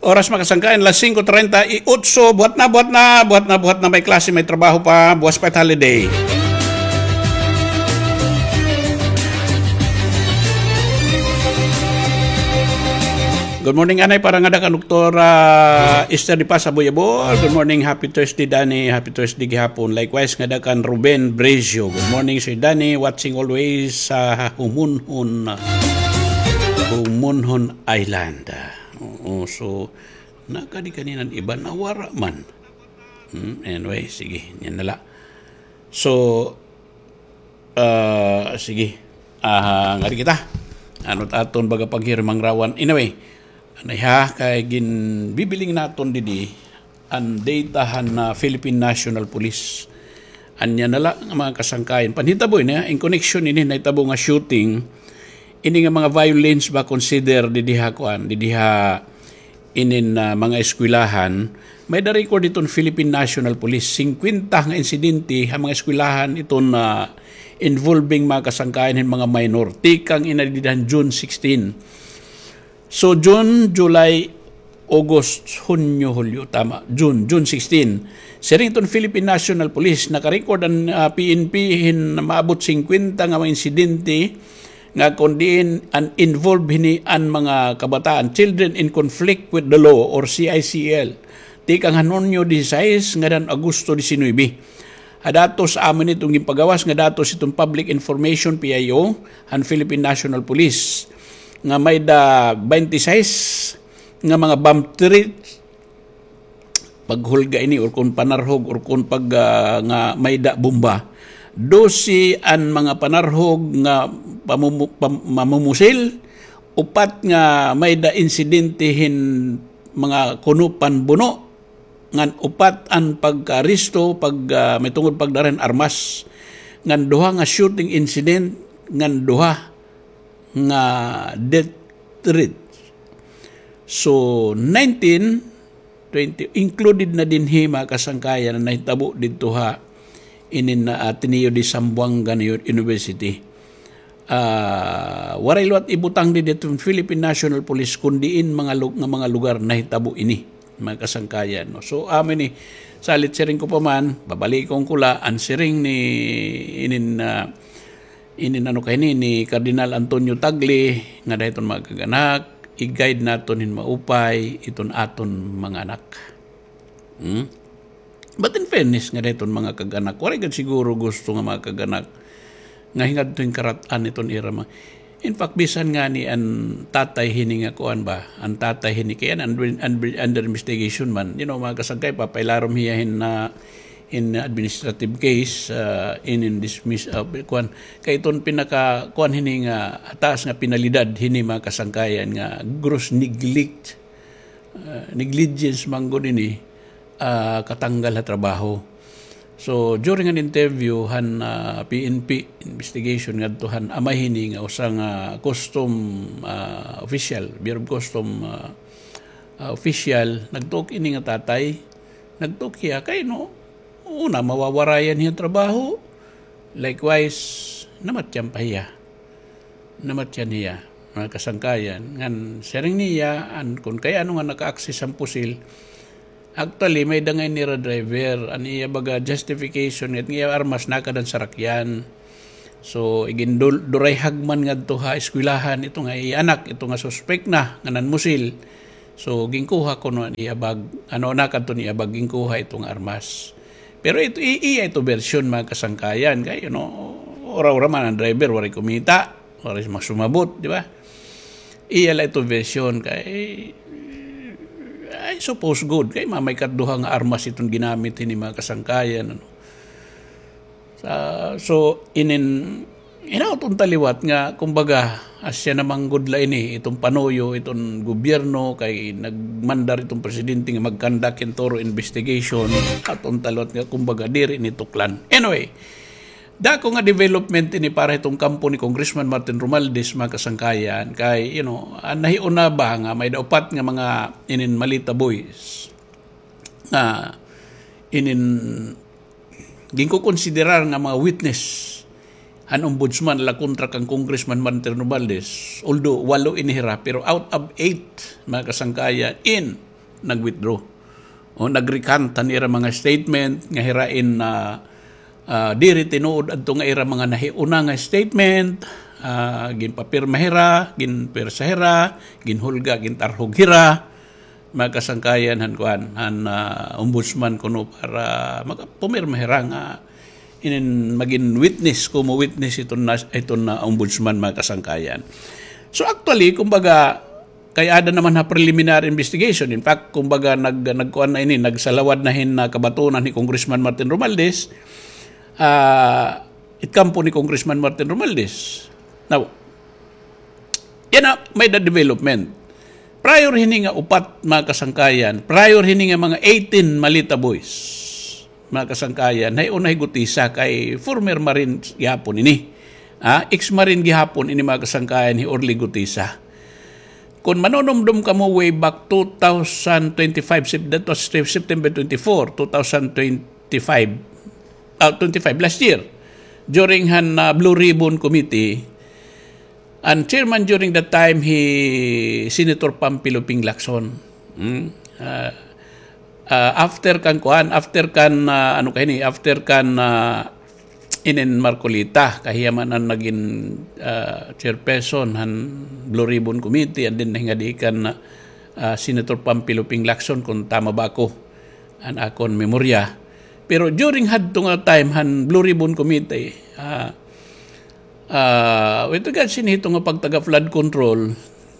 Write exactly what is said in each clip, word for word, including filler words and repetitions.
Oras, mga kasangkayan, las singko treinta y ocho. Buhat na, buhat na, buhat na, buhat na. May klase, may trabaho pa. Buwas pa it holiday. Good morning, anay, para ngada kan Doktora Esther de Paz Aboyabol. Good morning, happy Thursday, Danny. Happy Thursday gihapon. Likewise, ngada kan Ruben Brezio. Good morning, Sir Danny. Watching always sa Humunhon, Humunhon Island. Oo, so, nakadi kanina an iba, nawara man. Hmm, anyway, sige, yan na la. So, ah, sige. Ah, ngadi kita. Ano it aton baga paghirimangrawon? Anyway, anay ha, kay ginbibiling naton didi an data han, ah, Philippine National Police. Ania na la nga mga kasangkayan. Panhitabo ini, in connection ini nahitabo nga shooting, ini nga mga violence ba consider didi ha kuan, didi ha inin, ah, mga eskwelahan, may-da record iton Philippine National Police. Singkwenta nga insidente ha mga eskwelahan iton, ah, involving mga kasangkayan hin mga minor. Tikang ini dida han June sixteen. So, June, July, August, Hunyo, Hulyo, tama. June, June sixteen. Siring iton Philippine National Police, naka-record an, ah, P N P hin maabot singkwenta nga mga insidente nga kon diin an involved hini an mga kabataan, children in conflict with the law or C I C L. Tikang han Hunyo disisais ngada han Agosto disinuybe. Ha datos, amo ini iton ginpagawas nga datos iton Public Information, P I O, han Philippine National Police, nga may-da baynte sais nga mga bomb threats, paghulga ini or kon panarhog or kon pag, ah, nga may-da bomba. Dose an mga panarhog nga pamumu-, pam-, mamumusil, upat nga may-da insidente hin mga kuno panbuno, ngan upat an pagkaaresto, pag, ah, may tungod pagdara hin armas, ngan duha nga shooting incident, ngan duha nga death threat. So, nineteen, twenty, included na dinhi, mga kasangkayan, na nahitabo didto ha inin na Ateneo de Zamboanga University. Ah, waray liwat ibutang didi iton Philippine National Police, kon diin mga lu-, nga mga lugar nahitabo ini, mga kasangkayan, no? So, amo ini, salit siring ko pa man, babalikon ko la, an siring ni inin, ah, inin ano kay ni, ni Cardinal Antonio Tagle, ngada hiton mga kag-anak, i-guide naton hin maupay iton aton mga anak. Hmm? But in fairness, ngada hiton mga kag-anak, waray gad siguro gusto nga mga kag-anak nga hingadto hin karat-an iton ira ma-, in fact, bisan ngani an tatay hini nga kuan ba, an tatay hini kay an, an, an, under investigation man, you know, mga kasangkay, papailarom hiya hin na in administrative case, ah, in, in dismiss, ah, kuan. Kay iton pinaka, kuan hini nga taas nga penalidad hini, mga kasangkayan, nga gross neglect, ah, negligence man gud ini, ah, katanggal ha trabaho. So, during an interview han, ah, P N P investigation ngadto han amay hini nga usa nga custom, ah, official, Bureau of Custom, ah, ah, official, nagtuok ini nga tatay, nagtuok hiya kay no, una, mawawarayan hiya trabaho. Likewise, namatyan pa hiya. Namatyan hiya, mga kasangkayan. Ngan, siring niya, an, kon kay ano nga naka-access an pusil, actually, may-da ngay-an nira driver, an iya baga justification, nga iya armas nakada han sarakyan. So, igindul-, durayhag man ngadto ha eskwelahan, ito nga iya anak, ito nga suspek na, nga nanmusil. So, ginkuha kuno an iya bag, ano, nakadto an iya bag, ginkuha ito nga armas. Pero ito, i-, iya ito bersyon, mga kasangkayan. Kay, you know, ura-ura man an driver, waray kumita, waray magsumabot, di ba? Iya la ito bersyon kay, I suppose good. Kay mamay kat duha nga armas iton ginamit hini, mga kasangkayan, ano. Sa, so, inin, hinaot unta liwat nga, kumbaga, asya na man gud la ini, iton panuyo, iton gobyerno, kay nagmandar iton presidente nga mag-conduct hin thorough investigation, hinaot unta liwat nga, kumbaga, diri ini tuklan. Anyway, dako nga development ini para hiton kampo ni Congressman Martin Romualdez, mga kasangkayan, kay, you know, an nahiuna ba nga may-da upat nga mga inin Malita Boys nga inin ginkukonsiderar nga mga witness han ombudsman la kontra kan Congressman Martin Romualdez, although walo ini hira, pero out of eight, mga kasangkayan, in nag-withdraw. O nag-recant han ira mga statement nga hira in, ah, ah, diri tinuod adto nga ira mga nahiuna nga statement, ah, ginpapirma hira, ginpwersa hira, ginhulga, gintarhog hira, mga kasangkayan han kuan, han, ah, ombudsman kuno para maka-, pumirma hira nga inin magin witness, kumo witness iton na, iton na ombudsman, mga kasangkayan. So actually, kumbaga, kay ada naman ha preliminary investigation. In fact, kumbaga, nag-, nagkuan na ini, nagsalawad na hin, ah, kabatunan hi Congressman Martin Romualdez, ah, it kampo ni Congressman Martin Romualdez. Now, yana, may-ada development. Prior hini nga upat, mga kasangkayan, prior hini nga mga eighteen Malita boys, mga kasangkayan, hay una hi Gutisa kay former Marine gihapon ini. Ah, ex-Marine gihapon ini, mga kasangkayan, hi Orly Gutisa. Kon manunumdom kamo way back two thousand twenty-five, Sep-, that was Sep-, September twenty-four, two thousand twenty-five, ah, twenty-five, last year, during han, ah, Blue Ribbon Committee, an chairman during that time, hi Senator Panfilo Ping Lacson. Hmm? Ah, ah, after kan kuan, after kan, ah, ano kay ini, after kan, ah, inin Marcoleta, kay hiya man an nagin, ah, chairperson han Blue Ribbon Committee, and then nahingadi kan, ah, Senator Panfilo Ping Lacson, kon tama ba ako an akon memorya. Pero during hadto nga time han Blue Ribbon Committee, ah, ah, with regards hini hito nga pagtaga flood control,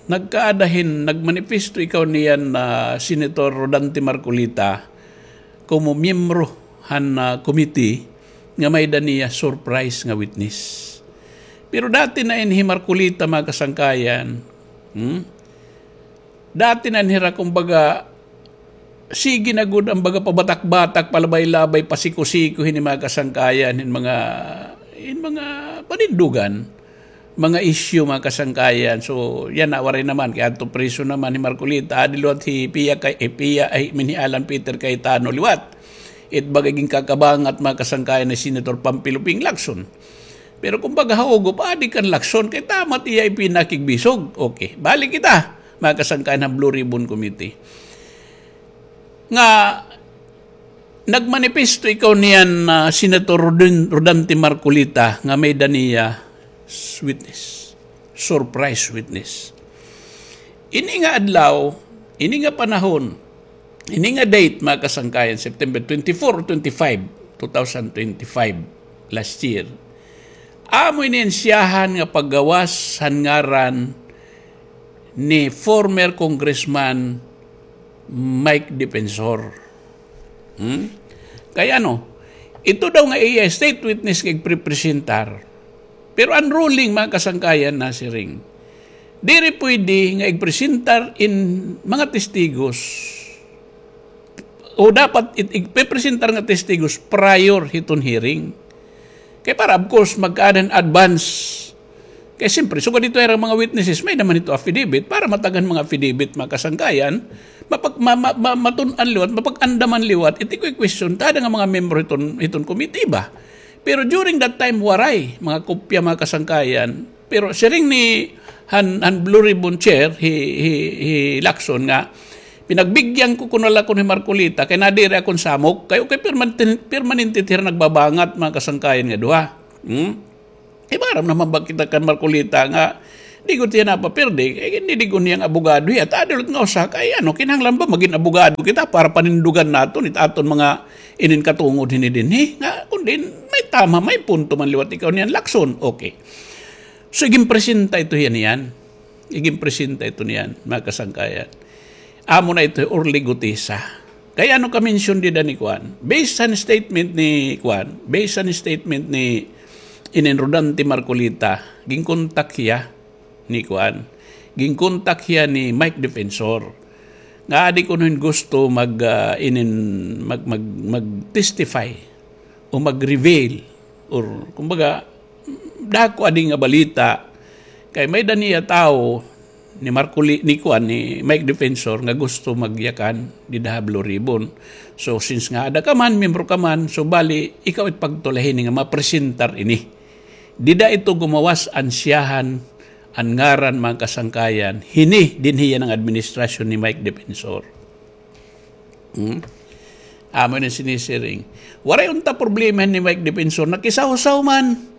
nagkaada hin, nagmanifesto ikaw niyan, ah, Senator Rodante Marcoleta, komo miyembro han, ah, committee nga may-ada niya surprise nga witness. Pero dati na ini hi Marcoleta, mga kasangkayan. Hmm? Dati na ini hira, kumbaga, sige na gud an baga pabatak-batak, palabay-labay, pasiko-siko hini mga kasangkayan, hin mga, hin mga panindugan, mga issue, mga kasangkayan. So, yana, waray naman, kay adto priso naman hi Marcoleta, adi liwat hi Pia kay, eh, Pia, ay, min hi Alan Peter Cayetano liwat. It baga ginkakabangat, mga kasangkayan, ni Senator Panfilo Ping Lacson. Pero kumbaga, haugop, adi kan Lacson, kay tama it iya ipinakigbisog. Okay, balik kita, mga kasangkayan han Blue Ribbon Committee. Nga, nagmanifesto ikaw niyan, ah, Senator Rodin-, Rodante Marcoleta, nga may-ada niya s-, witness, surprise witness. Ini nga adlaw, ini nga panahon, ini nga date, mga kasangkayan, September twenty-four or twenty-five, two thousand twenty-five, last year. Amo ini an siyahan nga paggawas han ngaran ni former Congressman Mike Defensor. Hmm? Kay ano, ito daw nga iya state witness nga igprepresentar. Pero an ruling, mga kasangkayan, nasiring, diri pwede nga igpresentar in mga testigos o dapat it-, igpepresentar nga testigos prior hiton hearing. Kay para, of course, magkaada hin advance. Kay siyempre, sugad hito ira mga witnesses, may-ada man hito affidavit, para matag-an mga affidavit, mga kasangkayan, mapag-, ma-, ma-, ma-, matun-an liwat, mapag-andaman liwat, it iko-question ta ada nga mga membro hiton, hiton committee ba. Pero during that time, waray mga kopya, mga kasangkayan. Pero siring ni han, han Blue Ribbon Chair, hi, hi, hi Lacson nga, pinagbigyan ko kuno la kuno hi Marcoleta, kay nadiri akon samok, kay okay, permanente, permanente hira nagbabangat, mga kasangkayan nga duha. Hmm? Ibaram naman ba kita kan Marcoleta nga, di gud hiya napapirdi, kay gindidigon niya nga abogado hiya, ta adi liwat nga usa, kay ano, kinahanglan ba magin abogado kita para panindugan naton it aton mga inin katungod hini dinhi, nga, kun diin, may tama, may punto man liwat ikaw niyan, Lacson, okay. So, iginpresenta ito hiya niyan. Iginpresenta ito niyan, mga kasangkayan. Amo na ito, Orly Gutesa. Kay ano ka-mention dida ni kuan? Based han statement ni kuan, based han statement ni inin Rodante Marcoleta, ginkontak hiya ni kuan, ginkontak hiya ni Mike Defensor. Nga adi kuno hin gusto mag, ah, inin, mag, mag, mag-testify o mag-reveal or, kumbaga, dako adi nga balita. Kay may-ada niya tawo ni Marcoli-, ni kuan, ni Mike Defensor nga gusto magyakan dida ha Blue Ribbon. So, since nga ada ka man, miyembro ka man, so bali, ikaw it pagtulay hini nga mapresentar ini. Dida ito gumawas an siyahan, an ngaran, mga kasangkayan, hini dinhi yana nga administrasyon ni Mike Defensor. Hmm? Amo ini sinisiring. Waray unta problema ni Mike Defensor. Nakisawsaw man.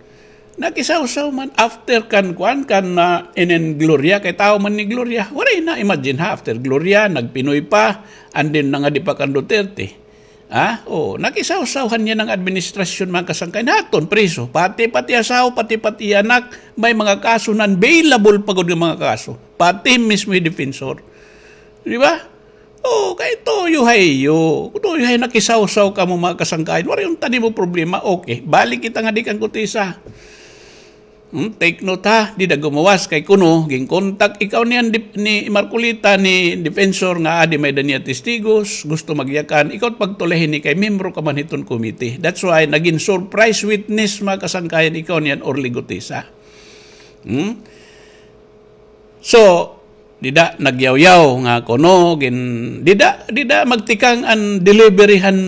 Nakisawsaw man. After kan kuan, kan, ah, inin Gloria, kay tawo man ni Gloria. Waray na, imagine ha, after Gloria, nag-Pinoy pa, and then nangadi pa kan Duterte. Ha? O, nakisawsaw han iya nga administrasyon, mga kasangkayan. Haton, priso. Pati, pati asawa, pati, pati anak, may mga kaso, non-bailable pa gud nga mga kaso. Pati mismo hi Defensor. Di ba? O, kay tuyo ha iyo. Tuyo ha iyo, nakisawsaw kamo, mga kasangkayan. Waray unta nimo problema. Okay, balik kita ngadi kan Gutesa. Hmm, take note ha, dida gumuwas kay kuno, ginkontak ikaw niyan dip-, ni Marcoleta ni Defensor nga adi may-ada niya testigos, gusto magyakan, ikaw pagtulay hini kay membro ka man hiton committee. That's why nagin surprise witness, mga kasangkayan, ikaw niyan Orly Gutesa. Hmm? So, dida nagyawyaw nga kuno, gin-, dida, dida magtikang an delivery han,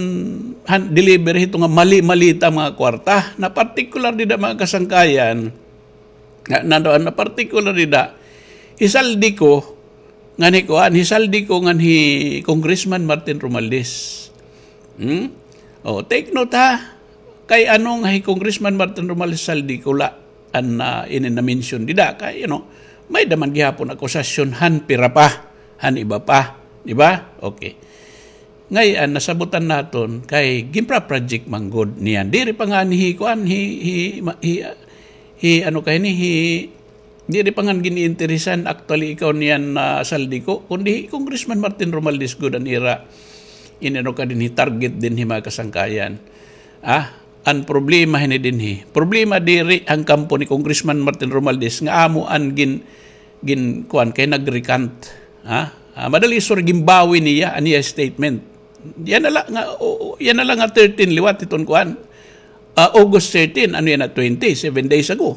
han delivery hito nga mali-malita mga kwarta. Na particular dida, mga kasangkayan, nga, na, na particular dida, hi Zaldy Co, ngan hi kuan, hi Zaldy Co ngan hi Congressman Martin Romualdez. Hmm? O, take note ha. Kay ano nga hi Congressman Martin Romualdez, Zaldy Co la an, ah, ini na-mention dida. Kay, you know, may-ada man gihapon akusasyon han pira pa, han iba pa. Di ba? Okay. Ngay-an, nasabutan naton kay ginpa-project man gud niyan. Diri pa nga ni hi, kuan, hi, hi, ma-, hi, ah, hi, ano kay ni, hi, diri pa nga gin-iinteresan actually ikaw niyan, ah, Zaldy Co, kundi hi Congressman Martin Romualdez gud an ira, inano ka dinhi, target dinhi, mga kasangkayan. Ah, an problema hini dinhi. Problema diri an kampo ni Congressman Martin Romualdez nga amo an gin-, gin-, kuan kay nag-recant. Ha? Ah, madali, sorry, ginbawi niya an iya statement. Yana la nga, o, o, yana la nga thirteen liwat hiton kuan. Ah, August thirteen, ano yana, twenty, seven days ago.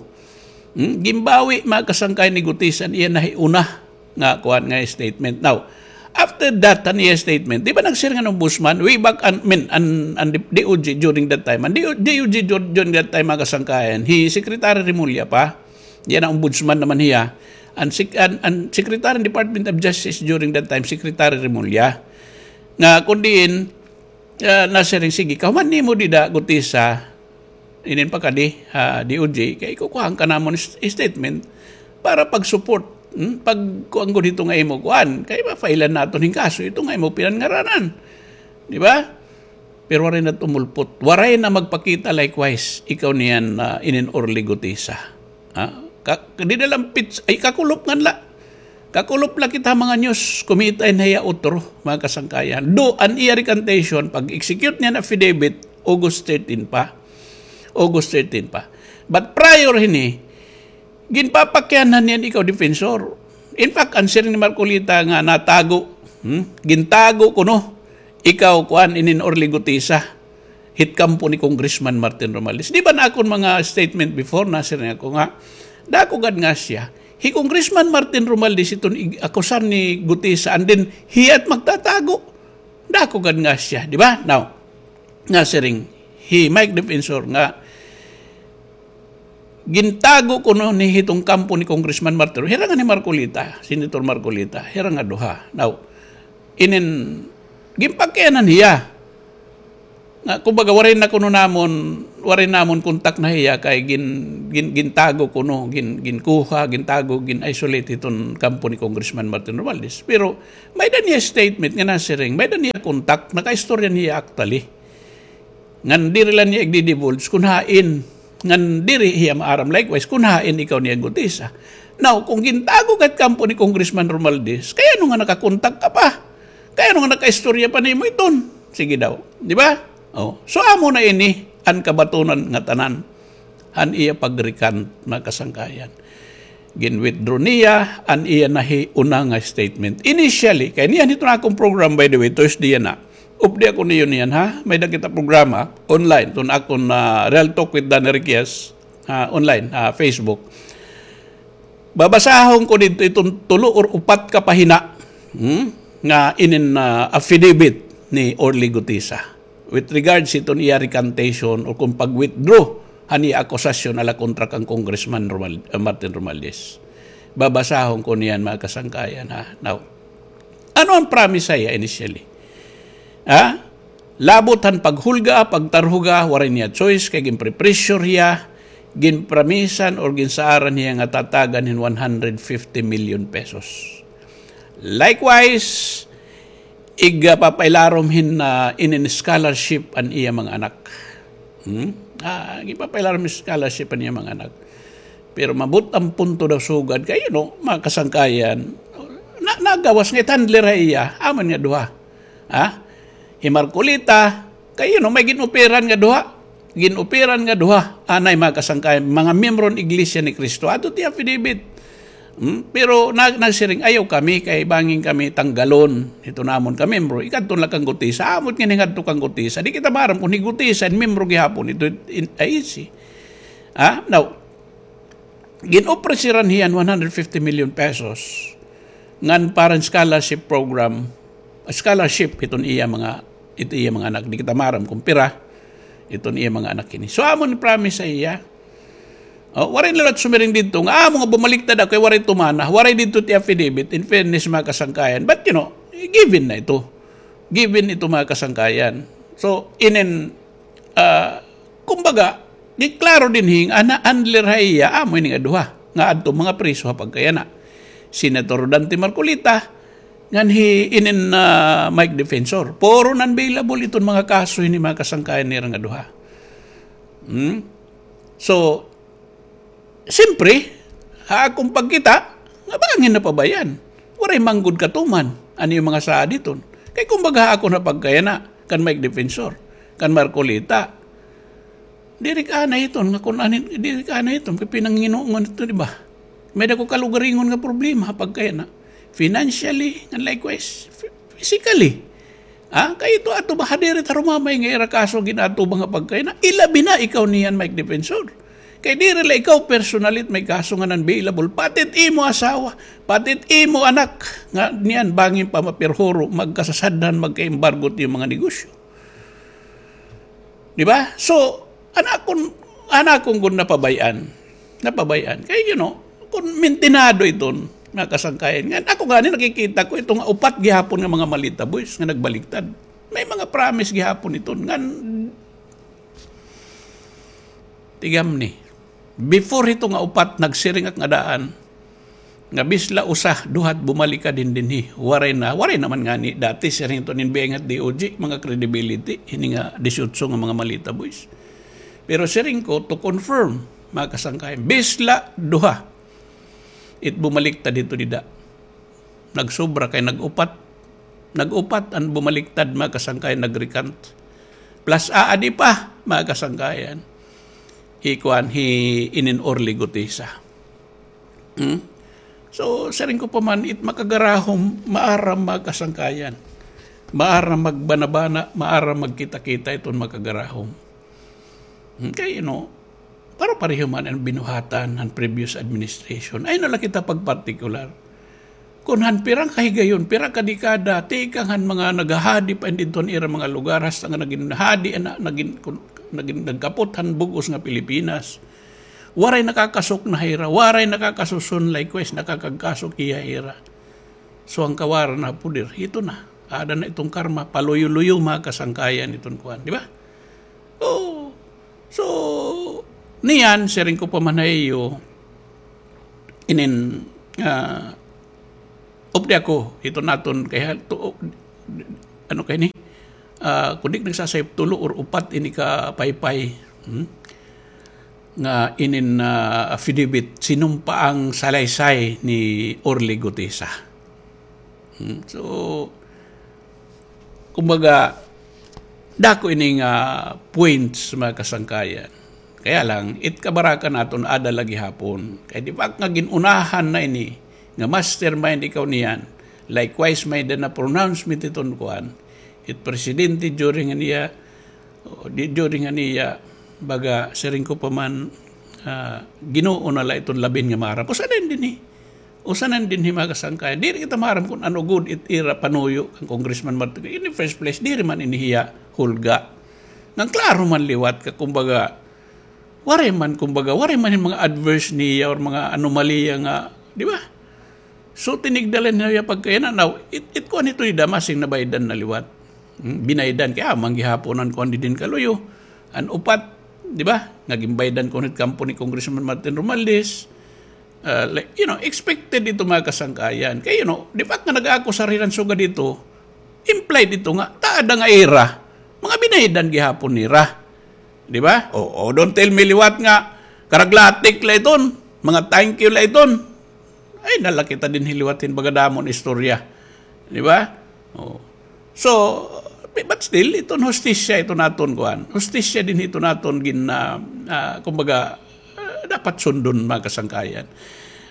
Hmm? Ginbawi, mga kasangkayan, ni Gutesa an iya nahiuna nga kuan nga statement. Now, after that, an iya statement, di ba nagsiring an ombudsman, way back, an, I mean, an, an D O J during that time, an D O J dur-, during that time, mga kasangkayan, hi Secretary Remulla pa, yana ombudsman naman hiya, an sec-, an, an Secretary ng Department of Justice during that time, Secretary Remulla, nga kun diin, ah, nasiring, sige, kahuman nimo dida, Gutesa, inin pakadi, ah, D O J, kay kukuhaan ka namon s-, statement para pag-support, hmm? Pagkuan gud hito nga imo kuan, kay ma-file-an naton hin kaso hito nga imo pinanngaranan. Di ba? Pero waray na tumulpot. Waray na magpakita likewise, ikaw niyan, ah, inin Orly Gutesa. Ha? Ka-, dida la an pits-, ay, kakulop ngan la. Kakulop la kita mga news, kumita in hiya utro, mga kasangkayan. Do, an iya recantation, pag-execute niyan affidavit, August thirteen pa. August thirteen pa. But prior hini, ginpapakianhan niyan ikaw Defensor. In fact, an siring ni Marcoleta nga natago, hmm? Gintago kuno, ikaw, kuan, inin Orly Gutesa. Hit kampo ni Congressman Martin Romualdez. Di ba na akon mga statement before, nasiring ako nga, dako gad nga siya. Hi Congressman Martin Romualdez iton ig-, akusar ni Gutesa, and then hiya it magtatago. Dako gad nga siya, di ba? Now, nasiring, hi Mike Defensor nga, gintago kuno ni hiton kampo ni Congressman Martin. Hira ngan hi Marcoleta, Senator Marcoleta, hira nga duha. Now, inin, ginpakianhan hiya. Nga, kumbaga, waray na kuno namon, waray namon kontak na hiya kay gin-, gin-, gintago kuno, gin-, ginkuha, gintago, gin-isolate hiton kampo ni Congressman Martin Romualdez. Pero may-ada niya statement nga nasiring, may-ada niya kontak, nakaistorya niya actually. Ngan diri la niya igdi-divulge kun hain, ngan diri hiya maaram likewise kun hain ikaw niya Gutesa. Now, kung gintago ka it kampo ni Congressman Romualdez, kay ano nga nakakontak ka pa? Kay ano nga nakaistorya pa nimo iton? Sige daw, di ba? Oh, so amo na ini an kabatonan nga tanan han iya pag-recant, mga kasangkayan. Gin-withdraw niya an iya nahiuna nga statement. Initially, kay niyan hiton akon program, by the way, Thursday yana. Updi ako niyo niyan, ha? May-ada kita programa online, iton akon, ah, Real Talk with Danny Riquez, ah, online, ah, Facebook. Babasahon ko didto iton tulo or upat ka pahina, hmm, nga inin, ah, affidavit ni Orly Gutesa with regards hiton iya recantation o kon pag-withdraw han iya akusasyon ala kontra kan Congressman Romual-, ah, Martin Romualdez. Babasahon ko niyan, mga kasangkayan, ha. Now, ano an promise ha iya initially? Ha? Labot han paghulga, pagtarhuga, waray niya choice, kay ginprepressure hiya, ginpramisan or ginsaaran hiya nga tatagan hin one hundred fifty million pesos. Likewise, ig, ah, papailarom hin, ah, inin scholarship an iya mga anak. Hmm? Ah, gipapailarom hin scholarship an iya mga anak. Pero mabot ang punto daw sugad kay, you know, mga kasangkayan, na, nagawas nga ithandler ha iya, amon nga duha. Ha? Hi Marcolita, kay, you know, may gin-operan nga duha. Gin-operan nga duha. Anay, mga kasangkayan, mga miyembro han Iglesia ni Cristo. Ato ti affidavit. Hmm? Pero na, nagsiring, ayaw kami, kay bangin kami tanggalon. Ito namon ka miyembro. Ikadto la kan Gutesa. Amot nga ningadto kan Gutesa. Di kita maaram kung hi Gutesa, miyembro gihapon. Ito, in, ay, si. Ha? Now, gin-offeran hiya hin one hundred fifty million pesos ngan para scholarship program, scholarship iton iya mga, ito iya mga anak. Di kita maaram kung pira iton iya mga anak ini. So, amon promise sa iya. Oh, waray na la sumiring didto nga, amo nga bumaliktad ako, kay waray tumana, waray didto ti affidavit, in fairness, mga kasangkayan. But, you know, given na ito. Given ito, mga kasangkayan. So, inin, ah, kumbaga, di klaro dinhi nga na-handler ha iya, amo ini nga duha, nga adto mga priso ha pagkayana. Senator Dante Marcoleta, ngan hi inin, ah, Mike Defensor. Puro non-bailable iton mga kaso ini, mga kasangkayan, nira nga duha. Hmm? So, siyempre, ha akon pagkita, nga bangin napabayaan. Waray man gud katuman an iyo mga saad iton. Kay kumbaga ha akon ha pagkayana, kan Mike Defensor, kan Marcoleta, diri ka na iton, nga kun anin, diri ka na iton, kay pinanginungan ito, di ba? May dako kalugaringon nga problema ha pagkayana. Financially, and likewise, phy-, physically. Ha? Kay ito ato ba, ha, diri ta rumamay nga ira kaso gin-atubang ha pagkayana. Ilabi na ikaw niyan, Mike Defensor. Kay diri la ikaw personally it may kaso nga non-bailable. Pati it imo asawa, pati it imo anak, nga niyan bangin pa mapirhuro, magkasasadhan, magka-embargo it iyo mga negosyo. Di ba? So, an akon, an akon gud napabay-an. Napabay-an. Kay, you know, kun mintinado iton, mga kasangkayan. Ngan, ako gani nakikita ko ito nga upat gihapon nga mga malita boys nga nagbaliktad. May mga promise gihapon iton. Ngan, tigam ni. Before hito nga upat, nagsiring ak nga daan, nga bisla usa, duha it bumalikad hin dinhi. Waray na, waray naman ngani dati, siring ito nin biyay nga D O J, mga credibility, hini nga disiotso nga mga malita boys. Pero siring ko, to confirm, mga kasangkayan, bisla duha it bumaliktad hito dida. Nagsobra kay nag-upat. Nag-upat an bumaliktad, mga kasangkayan, nag-recant. Plus, aadi pa, mga kasangkayan, hi kuan, hi inin Orly Gutesa. Hmm? So, siring ko pa man, it makagarahom, maaram, mga kasangkayan. Maaram magbanabana, maaram magkita-kita iton makagarahom. Hmm, kay, you know, para pareho man an binuhatan han previous administration. Ay, na la kita pagpartikular. Kun han pirang kahigayon, pira ka dekada, tikang han mga naghahadi pa hin didto han ira mga lugar, hasta nga nagin hadi, ana, nagin, kun, nagin, nagkapot han bug-os nga Pilipinas. Waray nakakasok na hira, waray nakakasuson, likewise, nakakagkasok hiya hira. So, an kawaran ha poder, ito na. Aada na iton karma, paluyo-luyo, mga kasangkayan, iton kuan, di ba? Oo. So, niyan, siring ko pa man ha iyo, inin, ah, updi ako, ito naton kay, to, ano kay ni? Ah, kun di nagsasayop, tulo or upat ini ka paypay, hmm? Nga inin, ah, affidavit, sinumpa an salaysay ni Orly Gutesa. Hmm? So, kumbaga, dako ini nga points, mga kasangkayan. Kaya lang, it kabaraka naton aada la gihapon. Kay di ba nga gin-unahan na ini, nga mastermind ikaw niyan. Likewise, may-ada na pronouncement iton kuan. It presidente during niya, o, di, during niya, baga, siring ko pa man, ah, Ginoo na la iton labin nga maaram. Usa na dinhi. Usa na dinhi, mga kasangkayan. Diri kita maaram kun ano gud it ira panuyo kan Congressman Martin. In the first place, diri man ini hiya hulga. Ngan klaro man liwat ka, kumbaga, waray man, kumbaga, waray man hin mga adverse niya or mga anomalya nga, di ba? So, tinigdalan niya pagkayana. Now, it, it kuan ito, di damasing nabaydan na liwat. Hmm, binaydan kay, ah, manggihapon an kuan didin kaluyo. An upat, di ba? Nga ginbaydan kuno hit kampo ni Congressman Martin Romualdez. Ah, like, you know, expected ito, mga kasangkayan. Kay, you know, di ba nga nag-aakusar hiran sugad dito, implied ito nga, taada nga ira, mga binaydan gihapon nira. Di ba? O, o, don't tell me liwat nga, karaglatik la iton, mga thank you la iton. Ay, nalakita din hiliwat hin bagadamon istorya. Di ba? O. So, but still, iton hustisya, iton aton kuan. Hustisya din iton aton gin, ah, ah, kumbaga, ah, dapat sundon, mga kasangkayan.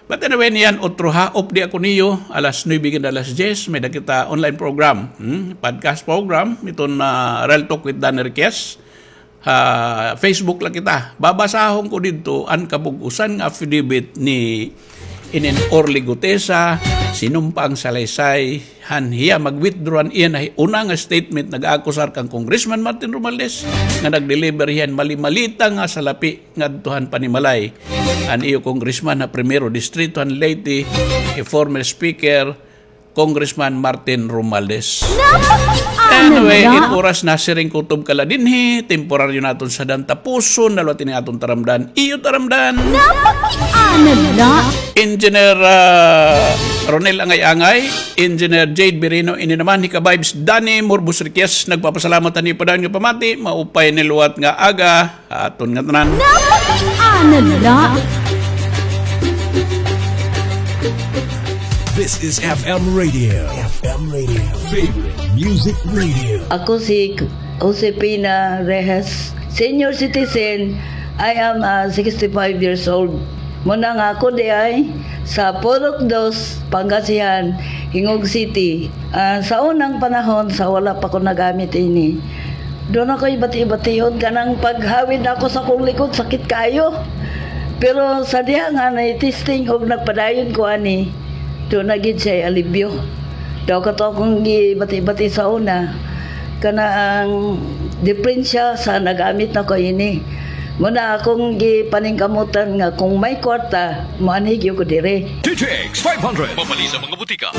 But anyway, niyan, otro ha, updi ako niyo, alas nuebe hanggang alas diyes, may-ada kita online program, hmm? Podcast program, iton, ah, Real Talk with Danny Riquez. Ha Facebook la kita. Babasahon ko didto an kabug-osan nga affidavit ni Inen Orly Gutesa, sinumpa an salaysay, han hiya mag-withdraw an iya na una nga statement, nag-aakusar kan Congressman Martin Romualdez nga nag-deliver hiya hin mali-malita nga salapi ngadto han panimalay han iyo congressman ha Primero Distrito han Leyte, hi former speaker Congressman Martin Romualdez. Anyway, it oras nasiring kutob ka la dinhi, temporaryo naton sadang tapuson, nalwat ini aton taramdan, iyo taramdan. Engineer, ah, Ronel Angay-Angay, Engineer Jade Birino, ini naman, Hika Vibes, Danny Morbos Riquez, nagpapasalamat han iyo padayon nga pamati, maupay naliwat nga aga, aton ngatanan. This is F M Radio. F M Radio. Favorite Music Radio. Ako si Josefina Reyes, senior citizen. I am, ah, sixty-five years old. Muna nga ako diay sa Purok Dos, Pangasinan, Gingoog City. Ah, sa unang panahon, sa wala pa ko nagamit ini, duna akoy bati-bation, kanang paghawid nako sa akon likod, sakit kaayo. Pero sa diha nga na-testing og nagpadayon ko ani, duna gid siya alibyo. Daw kato akong gibati-bati sa una, kana ang diperensya sa nagamit nako ini. Muna akong gipaningkamutan nga kung may kwarta, moanhi gyud ko diri. D T X five hundred. Mabali sa mga butika.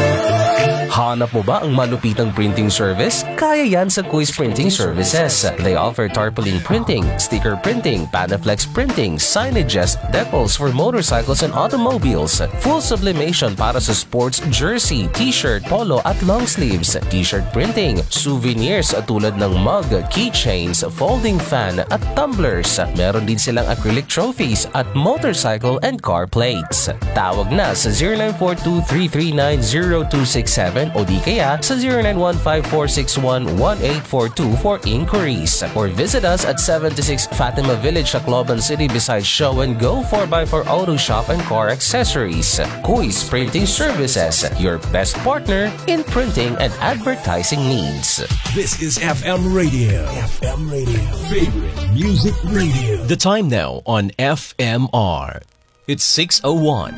Hanap mo ba ang malupitang printing service? Kaya yan sa Quiz Printing Services. They offer tarpaulin printing, sticker printing, Panaflex printing, signages, decals for motorcycles and automobiles, full sublimation para sa sports jersey, t-shirt, polo at long sleeves, t-shirt printing, souvenirs tulad ng mug, keychains, folding fan at tumblers. Meron din silang acrylic trophies at motorcycle and car plates. Tawag na sa zero nine four two three three nine zero two six seven o di kaya sa zero nine one five four six one one eight four two for inquiries. Or visit us at seventy-six Fatima Village, Tacloban City, beside Show and Go four by four Auto Shop and Car Accessories. Kuis Printing Services, your best partner in printing and advertising needs. This is F M Radio. F M Radio. Favorite Music Radio. The time now on F M R. It's six oh one.